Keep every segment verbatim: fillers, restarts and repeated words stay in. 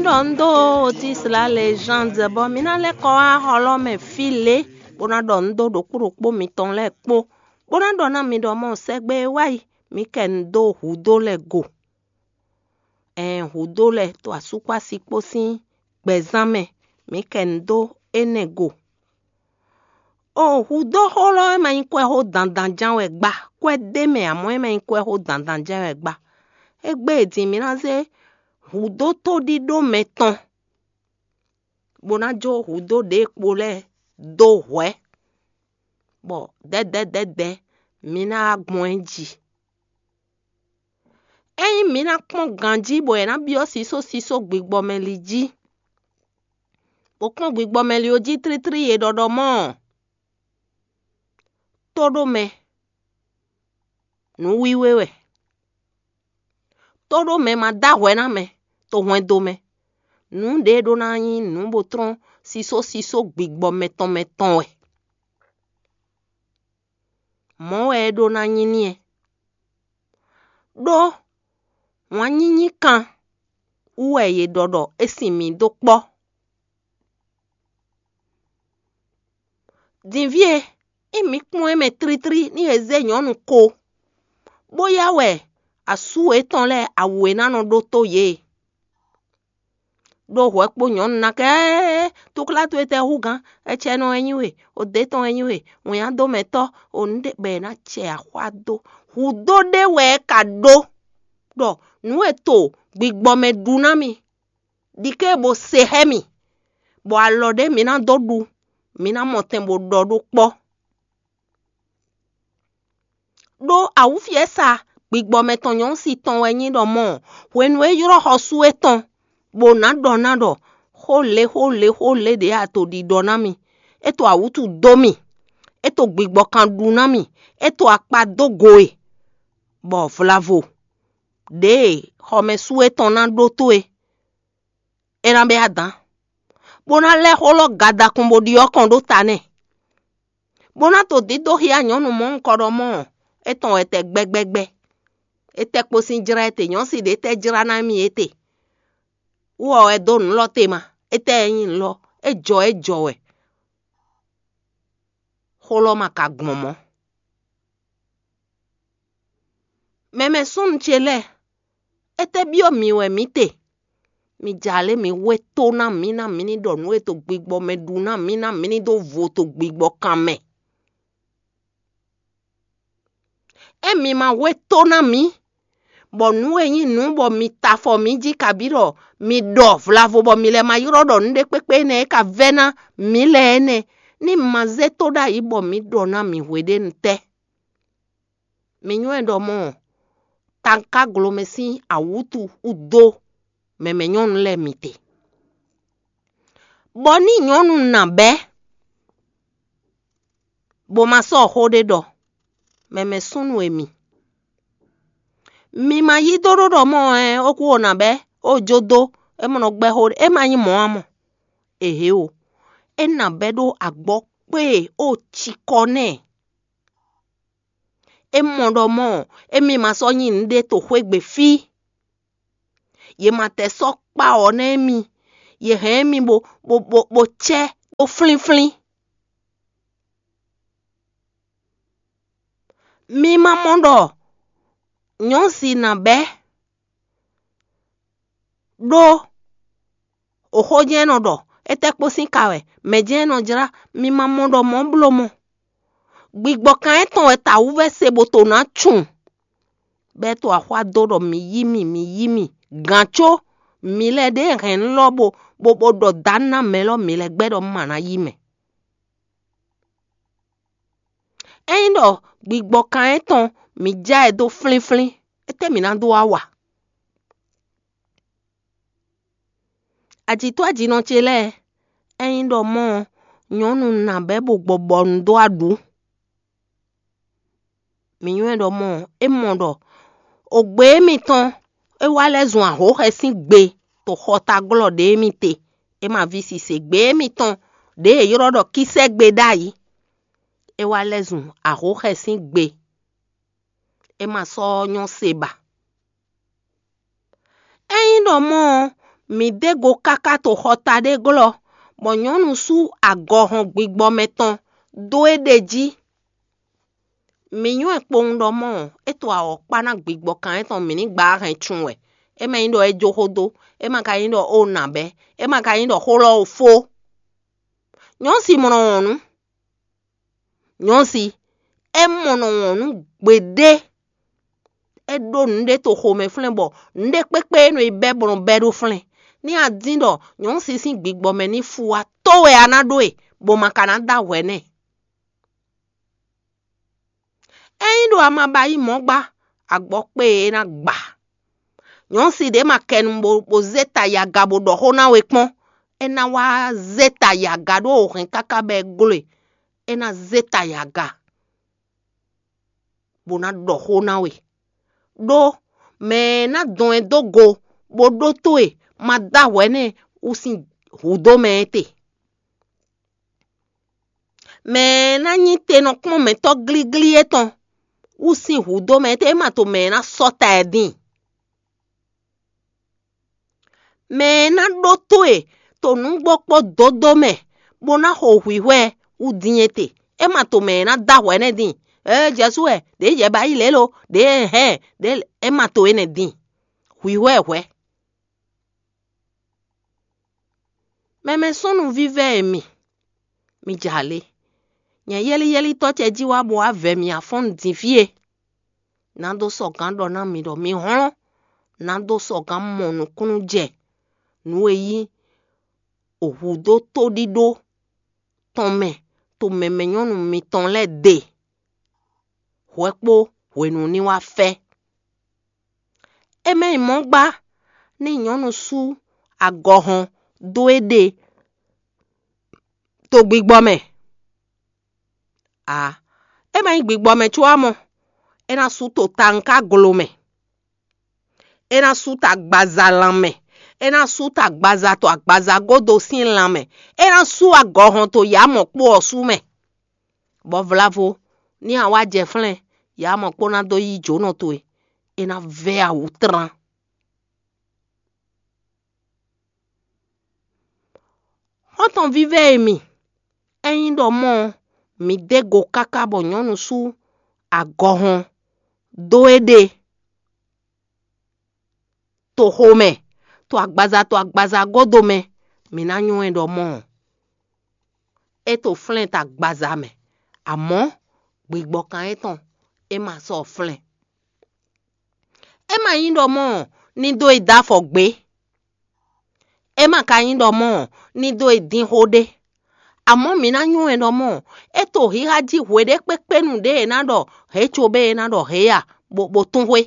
Ɖɔ un dó Otis la lejánze bɔ mi ná lɛ́ kɔ wá xɔlɔ́ mɛ fí lě, bó ná ɖɔ un dó ɖokpó ɖokpó mitɔn lɛ́ɛ kpó, bó ná ɖɔ ná mi ɖɔ mɔ sɛgbɛ e wá yi, mi kɛ un dó hǔdó lɛ́ɛ go. Ɛn hǔdó lɛ́ɛ to asúkpási kpó sín gbɛzán mɛ, mi kɛ un dó énɛ́ go. O hǔdó xó lɔ e ma nyí kwɛ́ xó dandan ján wɛ gbá, kwɛ́ ɖé mɛ amɔ̌ e ma nyí kwɛ́ xó dandan ján wɛ gbá. Égbé e din mi ná zé hǔdó tóɖíɖó mɛtɔn, bó ná jó hǔdó ɖě kpo lɛ́ɛ dó hwɛ̌, bɔ dɛ̌dɛ̌dɛ̌dɛ̌ mi ná wá gbɔn ɛ jí. Ényí mi ná kpɔ́n ganjí bɔ è nǎ byɔ́ sísó sísó gbigbɔmɛli jí, bó kpɔ́n gbigbɔmɛli ɔ́ jí tlítlí e ɖɔ ɖɔ mɔ́ ɔ́, tó ɖó mɛ nǔwiwa wɛ. Tó ɖó mɛ ma dó ahwɛ ná mɛ, to hwɛndo mɛ. Nǔ ɖě ɖó ná nyí nǔ bó tlɔ́n sísó sísó gbigbɔ mɛtɔn mɛtɔn wɛ. Mɔ̌ wɛ é ɖó ná nyí n'i. Ɖó wǎn nyínyí kan wú wɛ yě ɖɔ ɖɔ é sin mǐ dó kpɔ́. Dinví e, ényí mi kpɔ́n ɛ mɛ tlítlí ní è zé nyɔ̌nu ko, bó yá wɛ asú yětɔn lɛ́ɛ awu e ná nɔ ɖótó yě. Ɖó hwɛ kpó nyɔ̌nu ná kɛ, túklá towe tɛ hú gán, ecɛnɔ wɛ nyí we, odě tɔn wɛ nyí we, wǐnnyádómɛtɔ́, o nǔ ɖé bɔ è nǎ cɛ axwá dó. Hǔdó ɖé wɛ é ka ɖó ɖɔ nǔ e to gbigbɔ mɛ ɖu ná mi, ɖi ké bo se xá mì, bɔ alɔ ɖé mi ná dó ɖu, mi ná mɔ tɛn bo ɖɔ ɖó kpɔ́. Ɖó awǔfiɛ́sa gbigbɔ mɛtɔn nyɔ̌nu si tɔn wɛ nyí ɖɔ mɔ̌, hwenu e é ylɔ́ xɔsú étɔn, bó ná ɖɔ ná ɖɔ xó lě xó lě xó lě ɖě a to ɖiɖɔ ná mì, é to awǔtu dó mì, é to gbigbɔ kan ɖu ná mì, é to akpa dó go e, bɔ vlavo ɖěe xɔmɛsú étɔn ná ɖótó é, é ná bɛ́ adǎn, bó ná lɛ́ xó lɔ gadakun bó ɖyɔ́ kɔn ɖó ta nɛ́, bó ná to dídó xyá nyɔ̌nu mɔ̌hunkɔ ɖɔ mɔ̌, é tɔn wɛ tɛ gbɛgbɛgbɛ. É tɛ́ kpo sín jlá étɛ, nyɔ̌si ɖě tɛ́ jlá ná mì étɛ. Wú ɔ wɛ dó nǔ lɔ te ma, é tɛ́ ɛ nyí nǔ lɔ, é jɔ é jɔ wɛ. Xó lɔ ma ka gbɔn mɔ̌. Mɛmɛ súnnu ce lɛ́ɛ, étɛ́ byɔ́ mǐ wɛ mǐ te? Mi ja lě mi hwe tó ná mǐ ná mǐ ní ɖɔ nǔ e to gbigbɔ mɛ ɖu ná mǐ ná mǐ ní dó vo to gbigbɔ kan mɛ. É mi ma hwe tó ná mǐ, bɔ nǔ e nyí nǔ bɔ mi ta afɔ mǐ jí kabí ɖɔ mi ɖɔ vlavo bɔ mi lɛ́ ma ylɔ́ ɖɔ nǔ ɖé kpékpé énɛ́ e ka vɛ́ ná mǐ lɛ́ɛ énɛ́, ní ma zé tó ɖ'ayǐ bɔ mi ɖɔ ná mǐ hweɖénu tɛ́? Mi nywɛ́ ɖɔ mɔ̌, takáglomɛ sín awǔtu wú dó mɛmɛ nyɔ́nu lɛ́ɛ mi te. Bɔ ní nyɔ̌nu nǎ bɛ́, bó ma sɔ́ xó ɖé ɖɔ, mɛmɛ súnnu e mi. Mi ma yí dó ɖó ɖɔ mɔ̌ ɛ, ó kú o nǎ bɛ́, ó jó dó, é mɔ nɔ gbɛ́ xó ɖé, é ma nyí mɔ̌ ǎ mɔ. Ehe o, é nǎ bɛ́ ɖó agbɔ̌ kpé e ó cikɔ nɛ́. É mɔ ɖɔ mɔ̌, émí ma sɔ́ nyí nǔɖé to xwé gbe fí. Yě ma tɛ sɔ́ kpá ɔ̌ ná émí. Yě hɛn émí bo bo bo bo cɛ́ dó flínflín. Mi ma mɔ ɖɔ nyɔ̌si ná bɛ́ ɖó oxó jɛ́n é nɔ ɖɔ, étɛ́ kpó sín ka wɛ, mɛ̌ jɛ́n é nɔ jlá, mi ma mɔ ɖɔ mɔ̌ bló mɔ. Gbigbɔ kan étɔn wɛ tawǔvɛ́ se bó to ná cun. Bɛ́ to axwá dó ɖɔ mi yí mì, mi yí mì, gǎn có mi lɛ́ ɖě hɛn nú lɔ bo bo bo ɖɔ dǎ ná mɛ lɔ mi lɛ́ gbɛ́ ɖɔ un ma ná yí mɛ. Ényí ɖɔ gbigbɔ kan étɔn mi já ɛ dó flínflín, étɛ́ mi ná dó wá wa? Ajǐtɔ́ ajinɔ ce lɛ́ɛ, ényí ɖɔ mɔ̌ ɔ́, nyɔ̌nu nǎ bɛ́ bo gbɔ bɔ un dó aɖǔ. Mǐ nywɛ́ ɖɔ mɔ̌, é mɔ ɖɔ ogbě mitɔn é wá lɛ́ zun ahǒxɛ sín gbe to xɔtaglɔ́ ɖě mi te, é ma ví sise gbě mitɔn ɖě è ylɔ́ ɖɔ kísɛ́gbe ɖ'ayǐ. É wá lɛ́ zun ahǒxɛ sín gbe, é ma sɔ́ nyɔ́ se ba. Ényí ɖɔ mɔ̌ ɔ́, Mǐ dó go káká to xɔta ɖé glɔ́, bɔ nyɔ̌nu sú agɔhɔn gbigbɔmɛ tɔn dó é ɖe jí. Mǐ nywɛ́ kpowun ɖɔ mɔ̌ ɔ́, é to awɔ̌ kpá ná gbigbɔkan étɔn mǐ ní gbǎ hɛn cun wɛ. É ma nyí ɖɔ é jó xó dó, é ma ka nyí ɖɔ ó nǎ bɛ́, é ma ka nyí ɖɔ xó lɔ ó fó. Nyɔ̌si mɔ nɔ wɔn nǔ. Nyɔ̌si, é mɔ nɔ wɔn nǔ gbeɖé. É ɖó nǔɖé to xomɛ flɛ́n bɔ nǔɖé kpékpé e nɔ yi bɛ́ bɔ nɔ bɛ́ ɖó flɛ́n. Ní a dín ɖɔ nyɔ̌si sín gbigbɔ mɛ ní fú wá tó wɛ a ná ɖó e, bɔ ma ka ná dó ahwɛ nɛ́. Ényí ɖo a ma ba yí mɔ̌ gbá, agbɔkpé e é ná gba. Nyɔ̌si ɖě ma kɛnu bo, bo zé ta yi aga bo ɖɔ xó ná we kpɔ́n, é ná wá zé ta yi aga ɖó o hɛn káká bɔ é gló e, é ná zé ta yi aga, bó ná ɖɔ xó ná we. Ɖó mɛ e ná dɔn ɛ dó go bó ɖótó e ma dó ahwɛ nɛ́ wú sín hǔdó mɛ é te. Mɛ e ná nyí te nɔ kplɔ́n mɛ̌tɔ́ glíglí étɔn wú sín hǔdó mɛ é te, é ma to mɛ e ná sɔ́ ta ɛ dín. Mɛ e ná ɖótó e to nǔgbó kpó dǒdó mɛ, bó ná xo hwǐhwɛ́ wú dín é te. É ma to mɛ e ná dó ahwɛ nɛ́ dín. Ee, Jezu wɛ, ɖě jɛ ba yí lě lo, ɖě hɛn, ɖě é ma to énɛ́ dín. Hwǐhwɛ́ hwɛ̌. Mɛmɛ súnnu vívɛ́ e mi, mi jɛ ale. Nyɛ yɛ́líyɛ́lítɔ́ ce jí wá bó wá vɛ mì afɔ́nnu din fí e. Ná dó sɔgǎn ɖɔ ná mi ɖɔ mi hlɔ́n, ná dó sɔgǎn mɔ nǔkúnnú jɛ nǔ e nyí hǔdó tóɖíɖó tɔn mɛ to mɛmɛ nyɔ́nu mitɔn lɛ́ɛ ɖe. Hwɛ kpó hwenu ní wá fɛ́. É mɛ nyí mɔ̌ gbá ní nyɔ̌nu sú agɔhɔn dó é ɖe to gbigbɔ mɛ. Ǎ, é ma nyí gbigbɔ mɛ có ǎ mɔ, é ná sú to tawunká glo mɛ, é ná sú ta agbaza lan mɛ, é ná sú ta agbaza to agbaza gódo sín lan mɛ, é ná sú agɔhɔn to yǎ mɔ̌ kpó ɔ́ sú mɛ. Bɔ vlavo ní a wá jɛ flɛ́n, yǎ mɔ̌ kpó ná dó yí jǒnɔ towe, é ná vɛ́ awu tlán. Xɔ́ntɔn vívɛ́ e mi, ényí ɖɔ mɔ̌ ɔ́, mi dó go káká bɔ nyɔ̌nu sú agɔhɔn dó é ɖe toxo mɛ, to agbaza to agbaza gúdo mɛ, mi ná nywɛ́ ɖɔ mɔ̌ ɔ́, é to flɛ́n ta agbaza mɛ, amɔ̌ gbigbɔkan étɔn é ma sɔ́ flɛ́n. É ma nyí ɖɔ mɔ̌ ní dó e dó afɔ gbě. É ma ka nyí ɖɔ mɔ̌ ní dó e dín xó ɖé. Amɔ̌ mǐ ná nywɛ́ ɖɔ mɔ̌ é to xixa jí hweɖékpékpénu ɖé e ná ɖɔ hě cóbé e ná ɖɔ hě a, bó bó tún xwé.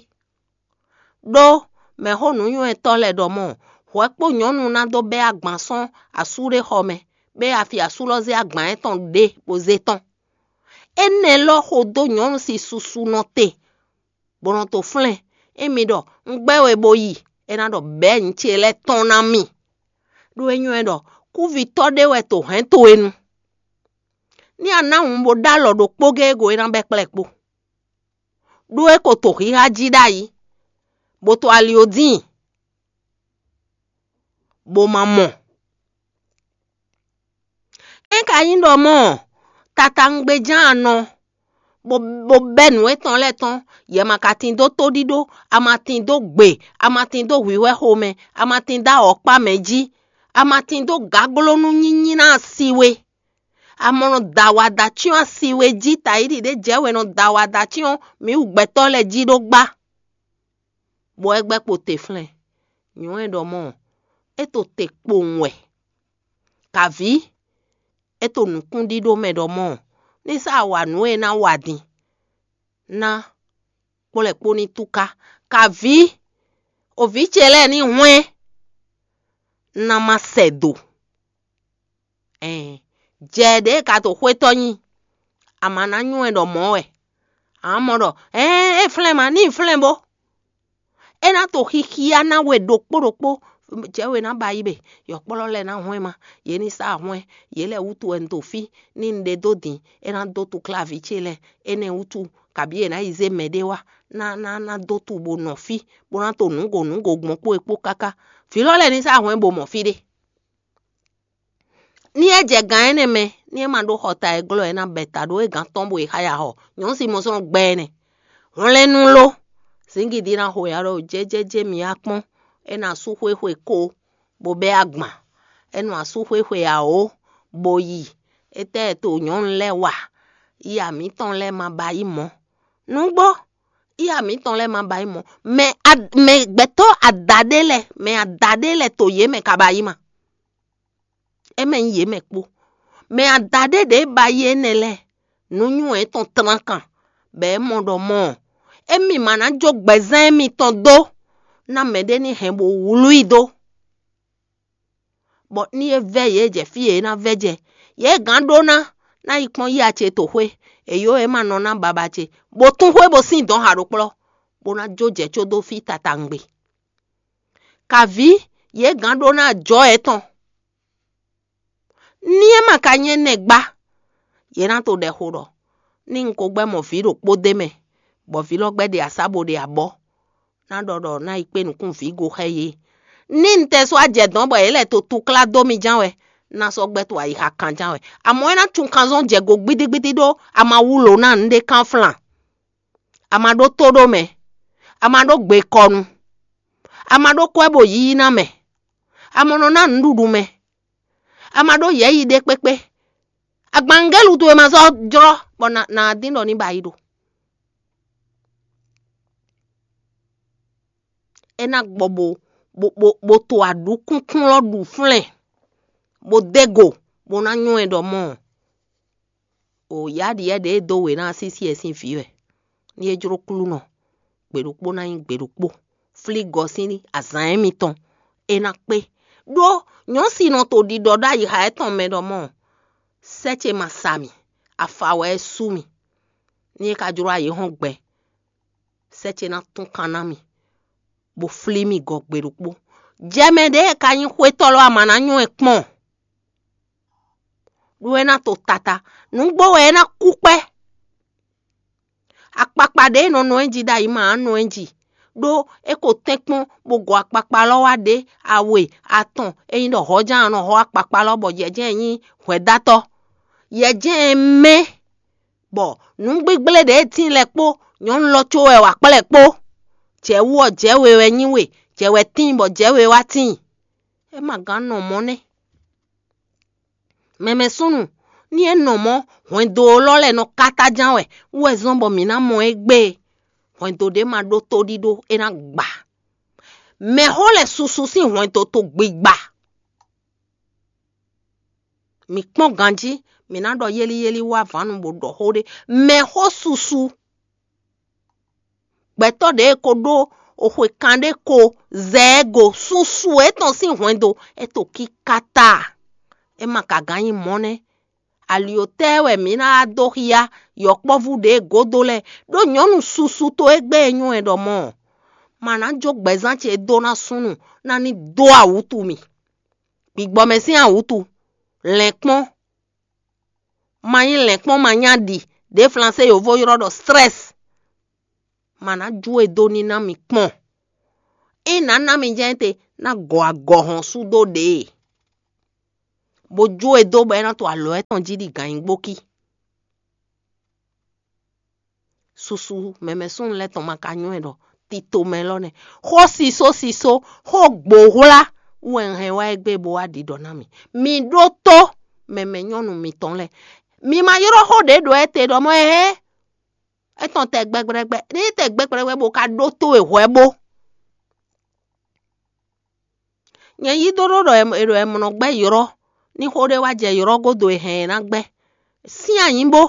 Ɖó mɛ̌xó nǔnywɛ́tɔ́ lɛ́ɛ ɖɔ mɔ̌, hwɛ kpó nyɔ̌nu ná dó bɛ́ agban sɔ́n asú ɖé xɔ mɛ, bó yi afi asú lɔ zé agban étɔn ɖe bó zé tɔ́n. Énɛ́ lɔ xo dó nyɔ̌nu sín susu nɔ te, bó nɔ to flɛ́n. Émi ɖɔ un gbɛ́ we bó yi, é ná ɖɔ bɛ̌ nyǐ ce lɛ́ɛ tɔ́n ná mì. Ɖó é nywɛ́ ɖɔ kúvitɔ́ ɖé wɛ to hɛ̌n towe nu. Ní a ná wǔn bó ɖó alɔ ɖokpó géé go é ná bɛ́ kplɛ́ kpó. Ɖó é ko to xixa jí ɖ'ayǐ, bó to ali ó dín, bó ma mɔ. É ka nyí ɖɔ mɔ̌, tatawungbejan a nɔ, bó bɛ́ nǔ étɔn lɛ́ɛ tɔ́n, yɛ ma ka tin dó tóɖíɖó, a ma tin dó gbe, a ma tin dó hwǐhwɛ́ xomɛ, a ma tin dó awɔ̌kpá mɛ jí, a ma tin dó gaglónú nyínyí ná asi we. A mɔ nɔ da awada cyɔ́n asi we jí, tayíɖi ɖé jɛ we nɔ da awada cyɔ́n mǐ wú gbɛtɔ́ lɛ́ɛ jí ɖó gbá. Bɔ é gbɛ́ kpo te flɛ́n. Nyɔ̌ e ɖɔ mɔ̌, é to te kpowun wɛ. Kavǐ, é to nǔkúnɖíɖó mɛ ɖɔ mɔ̌, ní sá wa nǔ e ná wa din ná kplɔ́ ɛ kpó ní túká. Kavǐ, o vǐ ce lɛ́ɛ ní hwɛ́n, ná má sɛ do. Ɛɛn, jɛ ɖě e ka to xwétɔ́ nyi, a ma ná nywɛ́ ɖɔ mɔ̌ wɛ. A mɔ ɖɔ ɛɛn, é flɛ́n ma, ní flɛ́n bó. É ná to xixia ná we ɖokpó ɖokpó, Jɛ̌ we ná ba yí bě, yɔ̌kplɔ́ lɛ́ɛ ná hwɛ́n ma, yě ní sá hwɛ́n, yě lɛ́ɛ wútu wɛ un ɖo fí, ní un ɖe dó din, é ná dó túkláví ce lɛ́ɛ, énɛ́ wútu, kabǐ è nǎ yi zé mɛɖé wá, ná ná ná dó tu bó nɔ fí, bó ná to nǔgo nǔgo gbɔn kpó e kpó káká. Vǐ lɔ lɛ́ɛ ní sá hwɛ́n bó mɔ fí ɖé. Ní é jɛ gǎn énɛ́ mɛ, ní é ma ɖó xɔ ta e glɔ́ ɛ ná bɛ ta ɖó é gǎn tɔn bo yi xá ya xɔ, nyɔ̌nu si mɔ sɔ́ nɔ gbɛ ɛ nɛ́. Hwlɛ́nnú ló, zǐngídi ná xo ya ɖɔ jɛ́jɛ́jɛ́ mi wá kpɔ́n, é nɔ asú xwéxwe ko, bó bɛ́ agban, é nɔ asú xwéxwe awǒ, bó yi, étɛ́ to nyɔ̌nu lɛ́ɛ wa, ya mǐtɔn lɛ́ɛ ma ba yí mɔ̌. Nǔgbó, ya mǐtɔn lɛ́ɛ ma ba yí mɔ̌. Mɛ a- mɛ gbɛtɔ́ adaɖé lɛ́ɛ, mɛ adaɖé lɛ́ɛ to yě mɛ ka ba yí ma. É mɛ nyí yě mɛ kpó. Mɛ adaɖé ɖě ba yí énɛ́ lɛ́ɛ, nǔ nywɛ́ tɔn tlán kan, bɔ é mɔ ɖɔ mɔ ɔ́, émí ma ná jó gbɛzán émítɔn dó ná mɛɖé ní hɛn bó wlú i dó. Bɔ ní é vɛ́ yě jɛ fí e é ná vɛ́ jɛ, yě gǎn ɖó ná ná yi kpɔ́n yí ce toxwé, è yǒ é ma nɔ ná babá ce, bó tún xwé bó sín dɔ̌n ha ɖokplɔ́, bó ná jó jɛ có dó fí tatawungbe. Kavǐ, yě gǎn ɖó ná ajɔ̌ yětɔn. Ní é ma ka nyí énɛ́ gbá, yě ná to ɖɛ xo ɖɔ ní un ko gbɛ́ mɔ vǐ ɖokpó d'é mɛ, bɔ vǐ lɔ gbɛ́ ɖe asá bo ɖe abɔ̌, ná ɖɔ ɖɔ ná yi kpé nukún vǐ go xá yě. Ní un tɛ sɔ́ ajɛ dɔ̌n bɔ yě lɛ́ to túklá dó mi ján wɛ, ná sɔ́ gbɛ́ to ayixa kan ján wɛ. Amɔ̌ é ná cun kanzɔn jɛ go gbídígbídí ɖó a ma wú lǒ ná nǔɖé kán flan. A ma ɖó tó ɖó mɛ, a ma ɖó gbe kɔ nu, a ma ɖó kwɛ́ bo yíyí ná mɛ, a ma nɔ ná nǔɖuɖu mɛ, a ma ɖó yɛ̌yi ɖé kpékpé. Agbannugélu towe ma sɔ́ jlɔ́ bɔ nǎ dín ɖɔ ní ba yi ɖo. É ná gbɔ bo bo bo bo to aɖǔkúnkún lɔ ɖu flɛ́n, bó dó go, bó ná nywɛ́ ɖɔ mɔ o yǎɖyɛ̌ ɖě e dó wě ná sísí ɛ sín vǐ wɛ. Ní é jló klúnɔ, gbe ɖokpó ná nyí gbe ɖokpó, flí gɔ sín azǎn émítɔn, é ná kpé. Ɖó nyɔ̌si nɔ to ɖiɖɔ ɖó ayixa étɔn mɛ ɖɔ mɔ sɛ́ ce ma sa mì, afa wɛ é sú mì. Ní é ka jló ayǐ hɔn gbɛ, sɛ́ ce ná tún kan ná mì, bó flí mì gɔ gbe ɖokpó. Jɛ mɛ ɖě e ka nyí xwétɔ́ lɔ a ma ná nywɛ́ kpɔ́n, ɖó é ná to tata, nǔgbó wɛ é ná kú kpɛ́. Akpakpa ɖě e nɔ nɔ ɛ jí ɖ'ayǐ ma ná nɔ ɛ jí, ɖó é ko tɛ́nkpɔ́n bó gɔ akpakpa lɔ wá ɖě awe atɔn, é nyí ɖɔ hɔ̌ján nɔ hɔ akpakpa lɔ bɔ jɛ̌jɛ́n nyí hwɛ̌dátɔ́. Yɛ̌jɛ́n mɛ bɔ nǔgbígblé ɖě e tíin lɛ́ɛ kpó nyɔ̌nu lɔ có wɛ wa kplɛ́ kpó. Jɛ̌ wú ɔ́, jɛ̌ we wɛ nyí we, jɛ̌ wɛ tíin bɔ jɛ̌ we wá tíin. É ma gán nɔ mɔ̌ nɛ́. Mɛmɛ súnnu, ní é nɔ mɔ̌, hwɛndo lɔ lɛ́ɛ nɔ kátáján wɛ, wú wɛ zɔ́n bɔ mǐ ná mɔ égbé. Hwɛndo ɖé ma ɖó tóɖíɖó, é ná gba. Mɛxó lɛ́ɛ susu sín hwɛndo to gbigba. Mǐ kpɔ́n ganjí, mǐ ná ɖɔ yéli yéli wá vǎnu bó ɖɔ xó ɖé. Mɛxó susu. Gbɛtɔ́ ɖě e ko ɖó oxwe kanɖé ko zɛ ɛ go, susu étɔn sín hwɛndo é to kíká ta. É ma ka gán nyí mɔ̌ nɛ́. Alyotɛ́ wɛ mǐ ná wá dó xyá yɔ̌kpɔ́vú ɖě gǒdo lɛ́ɛ, ɖó nyɔ̌nu susu to égbé e nyɔ́ ɛ ɖɔ mɔ̌ ɔ́, ma ná jó gbɛzán ce dó ná súnnu ná ní dó awǔtu mì. Gbigbɔ mɛ sín awǔtu, lɛ̌nkpɔ́n, ma nyí lɛ̌nkpɔ́n ma nyá ɖi, ɖě Flansé yovo ylɔ́ ɖɔ stress. Ma ná jó e dó ní ná mi kpɔ́n. É nǎ ná mi jɛ́n te ná gɔ agɔ̌hɔn sú dó ɖě, bó jó e dó bɔ é ná to alɔ étɔn jí ɖi gǎnnyígbókí. Susu mɛmɛ súnnu lɛ́ɛ tɔn ma ka nywɛ́ ɖɔ tito mɛ lɔ nɛ́. Xó sisó sisó, xó gbǒhwlá wɛ un hɛn wá égbé bó wá ɖiɖɔ ná mi. Mi ɖótó mɛmɛ nyɔ́nu mitɔn lɛ́ɛ. Mi ma ylɔ́ xó ɖě ɖo ɛ te ɖɔ mɔ ɛ hɛn. Étɔn tɛ gbɛgbɛgbɛ, ní tɛ gbɛgbɛgbɛ bó ka ɖótó e hwɛ bó. Nyɛ yí dó ɖó ɖɔ è ɖo ɛmɔnɔ gbɛ́ ylɔ́, ní xó ɖé wá jɛ ylɔ́ gúdo e hɛn ɛ ná gbɛ́. Sín anyǐ bó,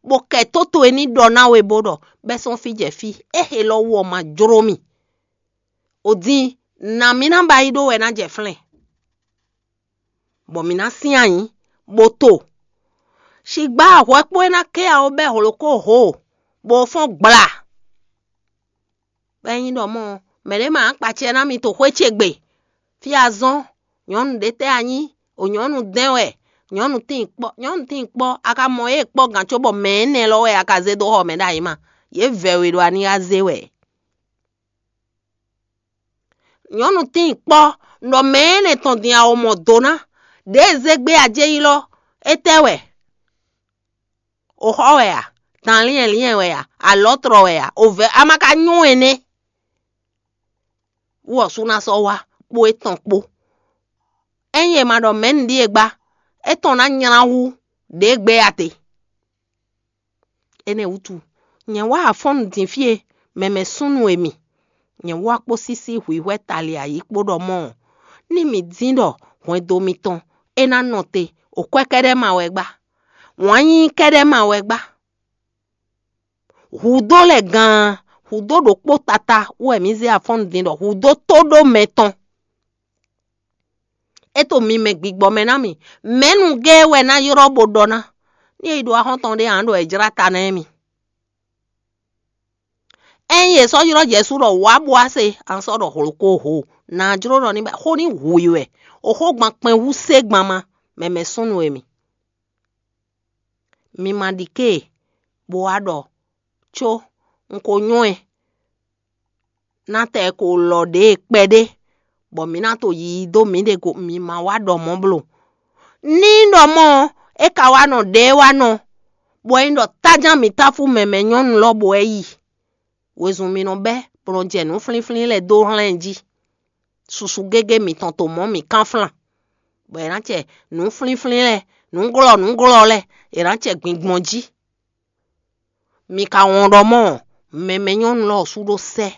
bó kɛ tó towe ní ɖɔ ná we bó ɖɔ bɛ́ sɔ́n fí jɛ fí, é he lɔ wú ɔ́ ma jló mì. O din, nǎ mì ná ba yi ɖó wɛ ná jɛ flɛ́n, bɔ mǐ ná sín anyǐ, bó to. Sigbá ahwɛkpó e ná ké awo bɛ́ hlokó hǒ, bó fɔ́n gbla. Bɔ é nyí ɖɔ mɔ̌ ɔ́, mɛ̌ ɖé ma nǎ kpa acɛ ná mi to xwé ce gbe? Fí azɔn, nyɔ̌nu ɖě tɛ́ a nyí? O nyɔ̌nu dɛn wɛ, nyɔ̌nu tíin kpɔ́, nyɔ̌nu tíin kpɔ́, a ka mɔ yě kpɔ́ gǎn cóbɔ mɛ énɛ́ lɔ wɛ a ka zé dó xɔ mɛ ɖ'ayǐ ma? Yě vɛ̌ we ɖo a ní wá zé wɛ. Nyɔ̌nu tíin kpɔ́, ɖɔ mɛ énɛ́ tɔn din a o mɔ do ná, ɖěe zé gbé a jɛ ylɔ́, étɛ́ wɛ? O xɔ wɛ a? Dan liɛnliɛn wɛ a? Alɔ̌tlɔ wɛ a? O vɛ̌ a ma ka nyɔ́ ɛnɛ́? Wú ɔ́ sú ná sɔ́ wá kpó étɔn kpó. Ényí è ma ɖɔ mɛ̌ nǔɖíe gbá, étɔn ná nylá hú ɖě gbé a te. Énɛ́ wútu, nyɛ wá afɔ́nnu din fí e, mɛmɛ súnnu e mi. Nyɛ wá kpó sísí hwǐhwɛ́ tali ayǐ kpó ɖɔ mɔ̌ ɔ́, ní mi dín ɖɔ hwɛndo mitɔn é ná nɔ te, o kwɛ́ kɛ́ɖɛ́ ma wɛ gbá, wǎn yíyí kɛ́ɖɛ́ ma wɛ gbá. Hǔdó lɛ́ɛ gan, hǔdó ɖokpó tata wɛ mǐ zé afɔ́nnu din ɖɔ hǔdó tó ɖó mɛ tɔn. É to mi mɛ gbigbɔ mɛ ná mi. Mɛ̌nu géé wɛ ná ylɔ́ bó ɖɔ ná, ní é yi ɖo axɔ́ntɔn ɖé ǎ ɖɔ è jlá ta ná émi. Ényí è sɔ́ ylɔ́ Jɛsu ɖɔ wǎ bó wá se, a sɔ́ ɖɔ hlǒ ko ho, nǎ jló ɖɔ ní ba xó ní hu i wɛ. O xógban kpɛn hú sé gban ma, mɛmɛ súnnu e mi. Mi ma ɖi ké e, bó wá ɖɔ có un ko nyɔ́ ɛ ná tɛ ko lɔ ɖě e kpɛɖé, bɔ mǐ ná to yiyi dó mǐɖée go, mi ma wá ɖɔ mɔ̌ bló. Ní ɖɔ mɔ̌ ɔ́, é ka wá nɔ ɖě e wá nɔ, bɔ é nyí ɖɔ táján mǐ táfú mɛmɛ nyɔ́nu lɔ bɔ é yi. Wezun mi nɔ bɛ́ bó nɔ jɛ nǔ flínflín lɛ́ɛ dó hlan ɛ jí. Susu gégé mitɔn to mɔ̌ mǐ kánflán, bɔ è nǎ cɛ nǔ flínflín lɛ́ɛ, nǔglɔ́ nǔglɔ́ lɛ́ɛ, è nǎ cɛ gbingbɔn jí. Mi ka wɔn ɖɔ mɔ̌, mɛmɛ nyɔ́nu lɔ sú ɖó sɛ́.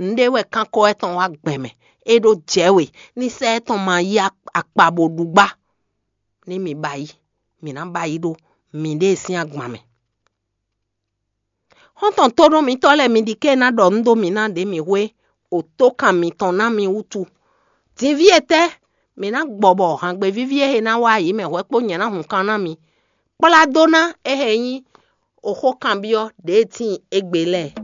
Nǔɖé wɛ kánkɔ wɛ tɔn wá gbɛn mɛ, é ɖó jɛ̌ we, ní sɛ́ étɔn ma yí akpa bó ɖu gbá. Ní mi ba yí, mǐ ná ba yí ɖó miɖée sín agban mɛ. Xɔ́ntɔn tónúmítɔ́ lɛ́ɛ, mi ɖi ké ná ɖɔ nǔ dó mǐ ná ɖě mǐ hwe, o tókan mitɔn ná mi wútu. Dinví etɛ́ mǐ ná gbɔ bɔ hǎngbevíví e ná wá ayǐ mɛ hwɛ̌ kpó nyɛ ná hun kan ná mi? Kplá dó ná é hɛn nyí oxó kanbyɔ́ ɖě e tíin égbé lɛ́ɛ.